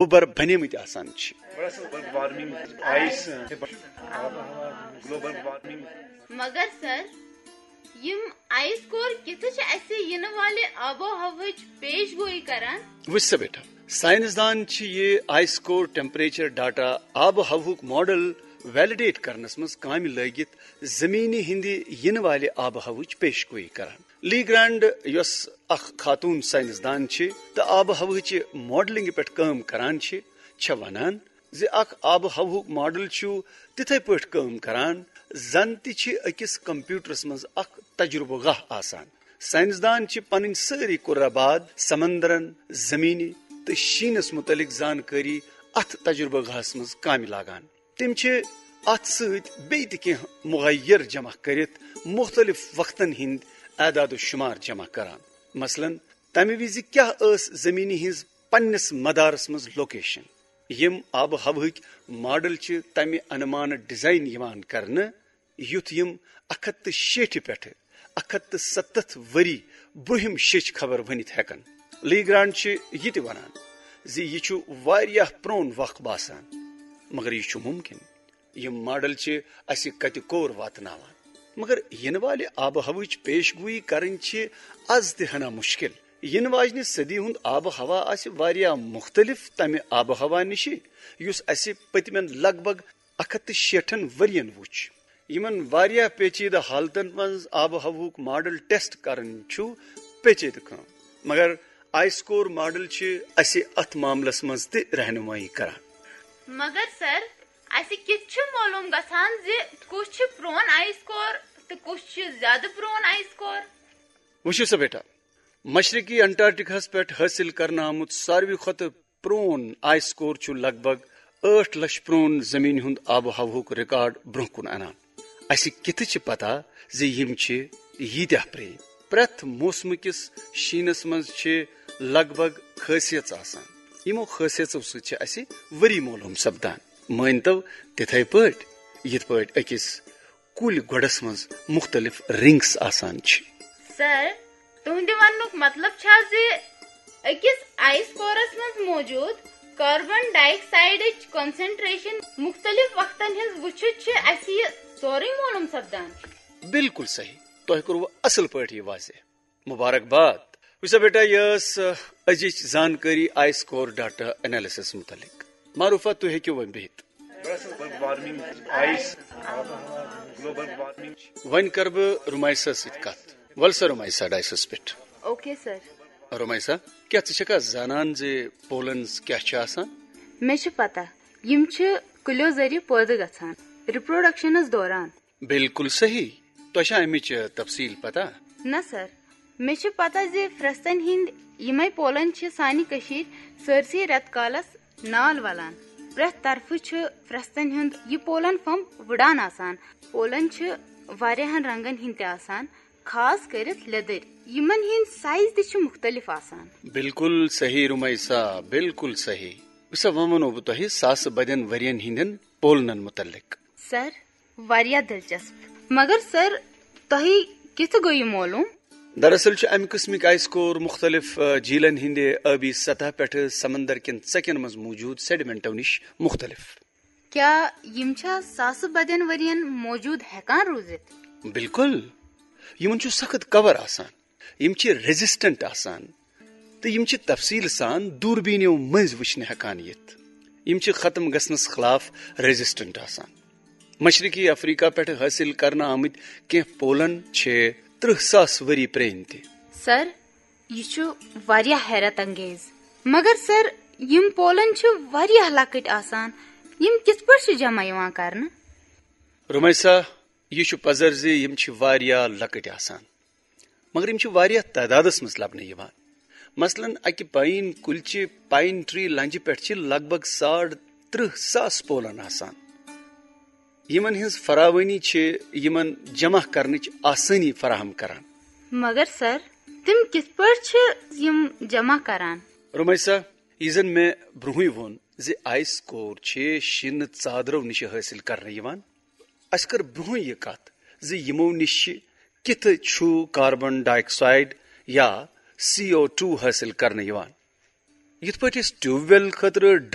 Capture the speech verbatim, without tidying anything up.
اوٚبر بنیمٕتۍ آسان چھِ۔ گلوبل وارمنگ، آئس، گلوبل وارمنگ۔ مگر سر، یم آئس کور کِتھ چھِ اسہِ ینہٕ والہِ آب و ہوہٕچ پیش گویی کران؟ وٕچھ سا بیٹا، سائنسدان چھِ یہِ آئس کور ٹیمپریچر ڈاٹا آب و ہوہُک ماڈل ویلیڈیٹ کرنس منٛز کامہِ لٲگِتھ زمینہِ ہٕنٛدِ ینہٕ والہِ آب و ہوہٕچ پیش گویی کران۔ لی گرانڈ، یۄس اکھ خاتون سائنسدان چھِ تہٕ آب و ہوہٕچہِ ماڈلنگ پٮ۪ٹھ کٲم کران چھِ، چھےٚ ونان زِ اکھ آب و ہوہُک ماڈل چھُ تِتھے پٲٹھۍ کٲم کران زن تہِ چھِ أکِس کمپیوٹرس منٛز اکھ تجربہٕ گاہ آسان۔ سائنسدان چھِ پنٕنۍ سٲری قرہ بعد، سمندرن، زمینہِ تہٕ شیٖنس متعلق زانکٲری اتھ تجربہٕ گاہس منٛز کامہِ لاگان۔ تِم چھِ اتھ سۭتۍ بیٚیہِ تہِ کینٛہہ مغیر جمع کٔرِتھ مُختٔلِف وقتن ہٕنٛدۍ اعداد و شُمار جمع کران۔ مثلاً، تمہِ وِزِ کیٛاہ ٲس زٔمیٖنہِ ہٕنٛز پننِس مدارس منٛز لوکیشن؟ یِم آبہٕ ہوہٕکۍ ماڈل چھِ تمہِ انمانہٕ ڈیزائن یِوان کرنہٕ، یُتھ یِم اکھ ہتھ تہٕ شیٹھِ پٮ۪ٹھٕ اکھ ہتھ تہٕ ستتھ ؤری برٛونٛہِم شیٚچھ خبر ؤنِتھ ہٮ۪کن۔ لی گرانڈ چھِ یہِ تہِ ونان زِ یہِ چھُ واریاہ پرٛون وق باسان، مگر یہِ چھُ مُمکِن۔ یِم ماڈل چھِ اسہِ کتہِ کور واتناوان، مگر یِنہٕ والہِ آبہٕ ہوہٕچ پیش گویی کرٕنۍ چھِ از تہِ ہنا مُشکِل۔ یِنہٕ واجنہِ صدی ہُنٛد آبہٕ ہوا آسہِ واریاہ مُختٔلِف تمہِ آبہٕ ہوا نِشہِ، یُس اسہِ پٔتمٮ۪ن لگ بگ اکھ ہتھ تہٕ شیٹھن ؤرین وُچھ۔ یِمن واریاہ پیچیدٕ حالتن منٛز آبہٕ ہوہُک ماڈل ٹیسٹ کرُن چھُ پیچیدٕ کٲم، مگر آئس کور ماڈل چھِ اسہِ اتھ معاملس منٛز تہِ رہنمٲیی کران۔ مگر سر، اسہِ کِتھ چھُ معلوم گژھان زِ کُس چھُ پرون آئس کور تہٕ کُس چھُ زیادٕ پرون آئس کور؟ وٕچھِو سا بیٹا، مشرقی انٹارکٹیکاہس پٮ۪ٹھ حٲصِل کرنہٕ آمُت ساروی کھۄتہٕ پرون آئس کور چھُ لگ بگ ٲٹھ لچھ پرون زمین ہُنٛد آب و ہوہُک ریکارڈ برونٛہہ کُن انان۔ اسہِ کِتھٕ چھِ پتہ زِ یِم چھِ ییٖتیٛاہ پرٛٲنۍ؟ پرٛٮ۪تھ موسمہٕ کِس شیٖنس منٛز چھِ لگ بگ خٲصیژ آسان۔ یِمو خٲصیژو سۭتۍ چھِ اسہِ ؤری معلوم سپدان۔ مٲنۍ تو، تِتھے پٲٹھۍ یِتھ پٲٹھۍ أکِس کُلۍ گۄڈس منٛز مُختٔلِف رنگس آسان چھِ۔ سر، تُہنٛدِ وننُک مطلب چھا زِ أکِس آئس کورس منٛز موجود کاربن ڈائی آکسائیڈٕچ کنسنٹریشن مُختٔلِف وقتن ہٕنٛز وُچھِتھ چھِ اسہِ یہِ سورُے معلوم سپدان؟ بالکل صحیح، تۄہہِ کوٚروٕ اصل پٲٹھۍ یہِ واضح۔ مبارکباد۔ وٕچھ سا بیٹا، یہِ ٲس، آ، أزِچ زانکٲری آئس کور ڈاٹا انالیسس متعلق۔ معروفہ، تُہۍ ہیٚکِو وۄنۍ بِہِتھ۔ گلوبل وارمنگ، آئس، گلوبل وارمنگ۔ وۄنۍ کرٕ بہٕ رُمایسہ سۭتۍ کتھ۔ ول سا رُمایسہ ڈائسس پٮ۪ٹھ۔ Okay sir. رُمایسہ، کیٛاہ ژٕ چھکھا زانان زِ پولنز کیٛاہ چھِ آسان؟ مےٚ چھِ پتہ، یِم چھِ کُلٮ۪و ذٔریعہٕ پٲدٕ گژھان ریپروڈکشنس دوران۔ بالکل صحیح۔ تۄہہِ چھا امِچ تفصیل پتہ؟ نہ سر، مےٚ چھِ پتہ زِ پھرستن ہٕنٛدۍ یِمے پولن چھِ سانہِ کٔشیٖرِ سٲرسٕے رٮ۪تہٕ کالس نال ولان۔ پرٛٮ۪تھ طرفہٕ چھُ پھرستن ہُنٛد یہِ پولن پھمب وُڈان آسان۔ پولن چھِ واریاہن رنگن ہٕنٛدۍ تہِ آسان، خاص کٔرِتھ لیٚدٕرۍ۔ یِمن ہٕنٛدۍ سائز تہِ چھِ مُختٔلِف آسان۔ بالکل صحیح رُمایسہ، بالکل صحیح۔ وٕچھ سا، وۄنۍ ونو بہٕ تۄہہِ ساسہٕ بدٮ۪ن ؤرین ہٕنٛدٮ۪ن پولنن متعلق۔ سر، واریاہ دلچسپ۔ مگر سر، تۄہہِ کِتھ گوٚو یہِ معلوم؟ دراصل چھِ امہِ قٕسمٕکۍ آئس کور مُختٔلِف، آ، جھیلن ہٕنٛدِ ٲبی سطح پٮ۪ٹھٕ سمندر کٮ۪ن ژکٮ۪ن منٛز موجود سیڈیمنٹو نِش مُختٔلِف۔ کیٛاہ یِم چھا ساسہٕ بدٮ۪ن ؤرین موجود ہٮ۪کان روٗزِتھ؟ بالکل۔ یِمن چھُ سخت کور آسان۔ یِم چھِ ریزسٹنٹ آسان تہٕ یِم چھِ تفصیل سان دوٗربیٖنیو مٔنٛزۍ وٕچھنہٕ ہٮ۪کان یِتھ۔ یِم چھِ ختم گژھنس خلاف ریزسٹنٹ آسان۔ مشرقی افریقہ پٮ۪ٹھٕ حٲصِل کرنہٕ آمٕتۍ کینٛہہ پولن چھِ ترٕٛہ ساس ؤری پرٛٲنۍ تہِ۔ سر، یہِ چھُ واریاہ حیرت انگیز۔ مگر سر، یِم پولن چھِ واریاہ لۄکٕٹۍ آسان۔ یِم کِتھ پٲٹھۍ چھِ جمع یِوان کرنہٕ؟ رُمایسہ، یہِ چھُ پزر زِ یِم چھِ واریاہ لۄکٕٹۍ آسان، مگر یِم چھِ واریاہ تعدادس منٛز لبنہٕ یِوان۔ مثلاً، اکہِ پاین کُلچہِ، پاین ٹری لنجہِ پٮ۪ٹھ چھِ لگ بگ ساڑ ترٕٛہ ساس پولن آسان۔ یِمن ہٕنٛز فراوٲنی چھِ یِمن جمع کرنٕچ آسٲنی فراہم کران۔ مگر سر، تِم کِتھ پٲٹھۍ چھِ یِم جمع کران؟ رُمایسہ، یہِ زن مےٚ برونٛہٕے ووٚن زِ آئس کور چھِ شیٖنہٕ ژادرو نِش حٲصِل کرنہٕ یِوان۔ اسہِ کٔر برونٛہٕے یہِ کتھ زِ یِمو نِش کِتھٕ چھُ کاربن ڈائی آکسائیڈ یا سی او ٹو حٲصِل کرنہٕ یِوان۔ یِتھ پٲٹھۍ أسۍ ٹیوب ویل خٲطرٕ